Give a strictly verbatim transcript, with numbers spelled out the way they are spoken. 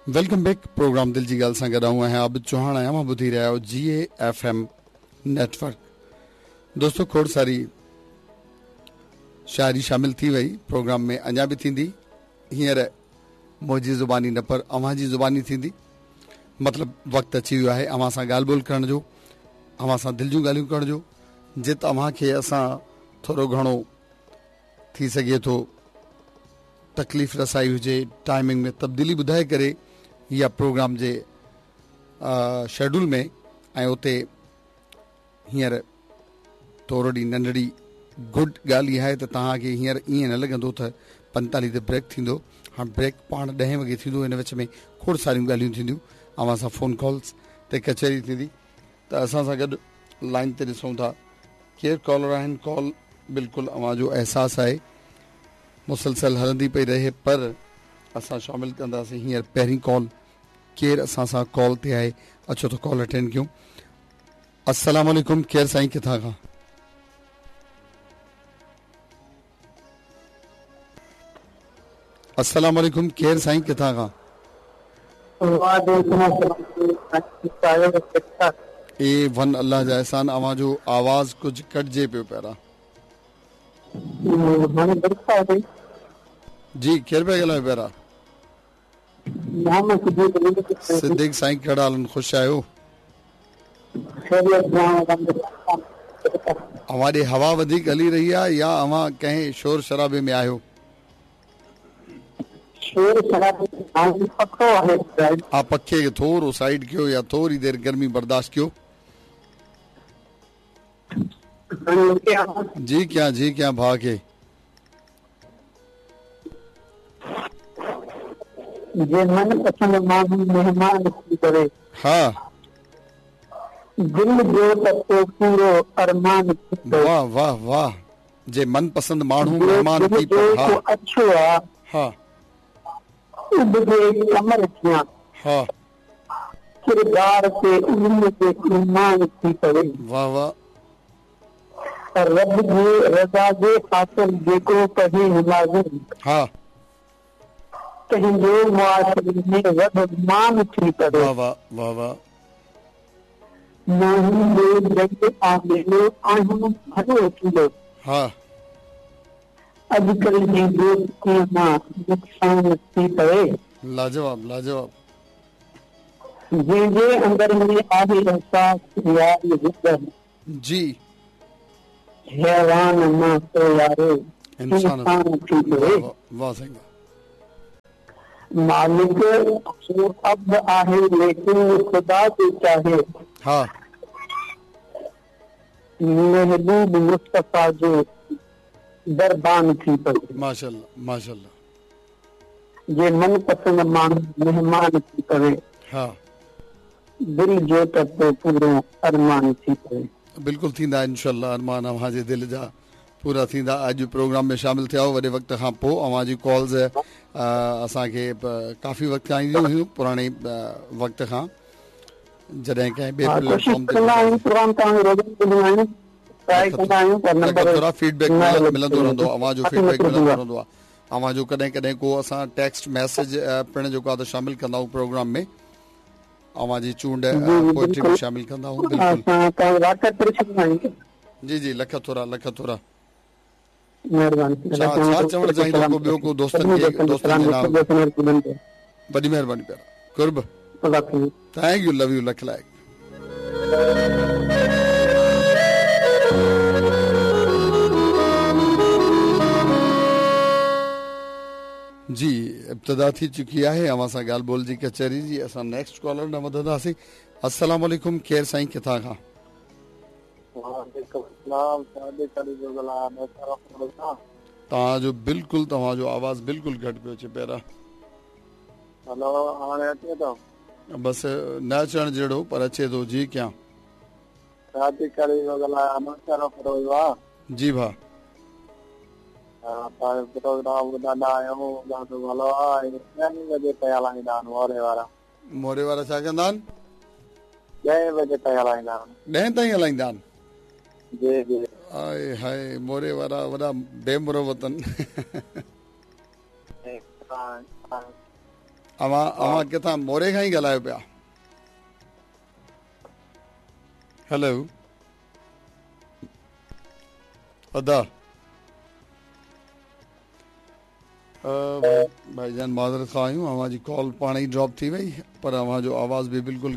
Welcome back programme दिल जी ॻाल्हि सां गॾु आऊं आहियां आबिद चौहान आहियां। मां ॿुधी रहिया आहियो जी ए एफ एम नेटवर्क। दोस्तो खोड़ सारी शायरी शामिल थी वई प्रोग्राम में, अञा बि थींदी। हींअर मुंहिंजी ज़ुबानी न पर अव्हां जी ज़ुबानी थींदी। मतिलबु वक़्तु अची वियो आहे अव्हां सां ॻाल्हि ॿोल करण जो, अव्हां सां दिलि जूं ॻाल्हियूं करण जो। जित अव्हां खे असां थोरो घणो थी सघे थो तकलीफ़ रसाई हुजे, टाइमिंग में तब्दीली ॿुधाए करे या प्रोग्राम जे शेड्यूल में, ऐं उते हींअर थोरो ॾींहुं नंढड़ी गुड ॻाल्हि इहा आहे त तव्हांखे हींअर ईअं न लॻंदो त पंतालीह ते ब्रेक थींदो। हाणे ब्रेक पाण ॾहें वॻे थींदो, हिन विच में खोड़ सारियूं ॻाल्हियूं थींदियूं, अव्हां सां फ़ोन कॉल्स ते कचहरी थींदी। त असां सां गॾु लाइन ते ॾिसूं था केरु कॉलर आहिनि। कॉल बिल्कुलु अव्हांजो अहसासु आहे मुसलसल हलंदी पई रहे, पर असां शामिल कंदासीं हींअर पहिरीं कॉल। केरु असां सां कॉल ते आहे, अचो त कॉल अटेंड कयूं। अस्सलाम वालेकुम, केरु साईं किथां खां? अस्सलाम वालेकुम, केरु साईं किथां खां? ए वन अल्लाह जा एहसान। अव्हांजो आवाज़ कुझु कटिजे पियो प्यारा। जी केरु पिया ॻाल्हायो प्यारा? सिद्दीक साईं, कहिड़ा हाल आहिनि? ख़ुशि आहियो? अव्हां ॾे हवा वधीक हली रही आहे या अव्हां कंहिं शोर शराबे में आहियो? हा, पखे खे थोरो साइड कयो या थोरी देरि गर्मी बर्दाश्त कयो। जी क्या जी क्या भाउ खे जे मन पसंद माण्हू महिमान थी करे, हा दिल जो त पोइ पूरो अरमान थी पवे। वाह वाह वाह, जे मन पसंद माण्हू महिमान थी पवे। हा अच्छो आहे, हा उब जे कमर थियां, हा किरदार ते उम्र ते ईमान थी पवे। वाह वाह, रब जी रज़ा जे ख़ातिर जेको पढ़े नमाज़, हा तंहिंजो मुआशरे में वॾो मान थी पवे। वाह वाह वाह वाह, माण्हू जो जंग आहे आहियूं भलो थींदो। हा अॼुकल्ह जी दोस्तीअ मां नुक़सान थी पवे। लाजवाब लाजवाब, जंहिंजे अंदर में आहे अहसास यार ज़िंदगी, जी हैवान मां तो यारो इंसान थी पवे। वाह साईं, मालिक जो अब आहे लेकिन खुदा जो चाहे, हा महबूब मुस्तफ़ा जो दरबान थी पवे। माशाअल्लाह माशाअल्लाह, जे मन पसंद माण्हू महिमान थी पवे, हा दिल जो त पोइ पूरो अरमान थी पवे। बिल्कुलु थींदा इंशाअल्लाह, अरमान अव्हां जे दिलि जा पूरा थींदा। अॼु प्रोग्राम में शामिल थिया वॾे वक़्त खां पोइ। अव्हां जी कॉल्स असांखे काफ़ी वक़्त खां ईंदियूं हुयूं, पुराणे वक़्त खां, जॾहिं कंहिं ॿिए प्लेटफॉर्म ते थोरा फीडबैक मिलंदो रहंदो, अव्हांजो फीडबैक मिलंदो रहंदो आहे। अव्हांजो कॾहिं कॾहिं को असां टेक्स्ट मैसेज पिणु जेको आहे त शामिल कंदा आहियूं प्रोग्राम में, अव्हांजी चूंड पोइट्री बि शामिल कंदा आहियूं। बिल्कुलु जी जी, लख थोरा लख थोरा। महिरबानी। छा छा चवणु चाहींदो को ॿियो को दोस्तनि खे, दोस्तनि जे नाम? वॾी महिरबानी प्यारा, क़ुर्ब। Thank you, love you, lakh लाइक़। जी इब्तिदा थी चुकी आहे अव्हां सां ॻाल्हि ॿोल जी कचहरी जी। असां नेक्स्ट कॉलर ॾांहुं वधंदासीं। अस्सलाम वालेकुम, केरु साईं किथां खां? तव्हांजो बिल्कुलु तव्हांजो आवाज़ बिल्कुलु घटि पियो अचे प्यारा। हेलो, हाणे अचे थो? बसि न अचण जहिड़ो पर अचे थो। जी क्या जी भाउ मोरे वारा छा कंदा आहिनि? ॾहें बजे ताईं हलाईंदा आहिनि। ॾहें ताईं हलाईंदा आहिनि? जी जी। आए हाय, मोरे वारा वॾा बेमुरवत आहिनि। अव्हां अव्हां किथां मोरे खां ई ॻाल्हायो पिया? हेलो अदा भाईजान माज़रत खां आहियूं, अव्हां जी कॉल पाण ई ड्रॉप थी वई, पर अव्हां जो आवाज़ बि बिल्कुलु